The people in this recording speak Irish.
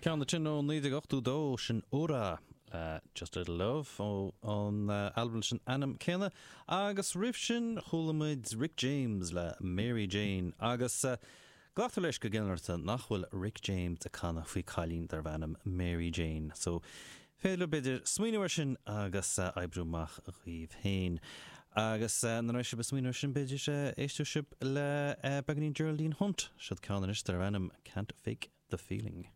Ceann ansin ó 1982, sin Ura le Just a Little Love ó an albam leis an ainm céanna. Agus roimh sin chuala muid Rick James le Mary Jane agus glactar leis go ginearálta nach bhfuil Rick James ag canadh faoi cailín darbh ainm Mary Jane. So féidir libh b'fhéidir smaoineamh ar sin agus oibriú amach dhaoibh féin. Agus nuair a bheidh sibh ag smaoineamh ar sin b'fhéidir éistfidh sibh le beagáinín Geraldine Hunt. Siod ceann anois darbh ainm Can't Fake the Feeling.